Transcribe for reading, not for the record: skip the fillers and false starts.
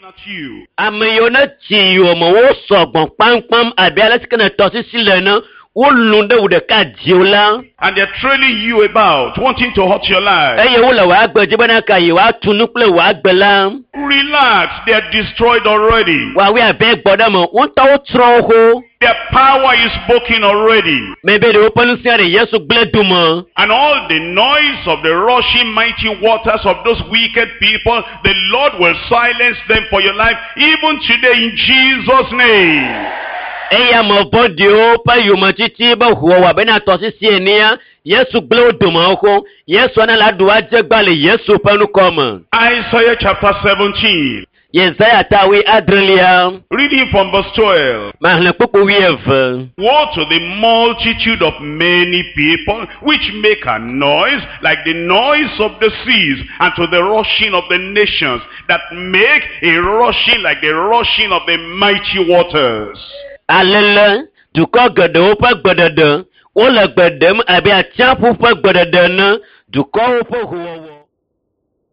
At you. Ame yiwo ne tsi yome wo sɔgbɔ kpamkpam abe ale si ke ne tɔsisi le ene, wolũ ɖe wò ɖeka dziwò la. And they're trailing you about, wanting to hurt your life. Eye wole wò agbe dzi bena ka yewoatu nu kple wò agbe la. Relax, they are destroyed already. Woawoe abe gbɔ ɖe me, wo ŋutɔ wotsrɔ̃ wo xoxo. Their power is broken already. Mebe ɖe woƒe ŋusẽ ɖe Yesu gblẽ dome. And all the noise of the rushing mighty waters of those wicked people, the Lord will silence them for your life, even today in Jesus' name. Eye ame vɔ̃ɖiwo ƒe yometiti be hoowɔ abe na tɔsisi enea, Yesu gblẽ wo dome xoxo. Yesu ana la ɖu adze gba le Yesu ƒe ŋkɔ me. Isaiah chapter 17, Yesaya ta wuiadrelia, reading from verse 12. maxlẽ kpukpu wuieve. Woe to the multitude of many people which make a noise like the noise of the seas, and to the rushing of the nations that make a rushing like the rushing of the mighty waters. Alele dukɔ geɖewo ƒe gbeɖeɖe, wole gbe ɖem abe atsiaƒu ƒe gbeɖeɖe ene, dukɔwo ƒe hoowɔwɔ.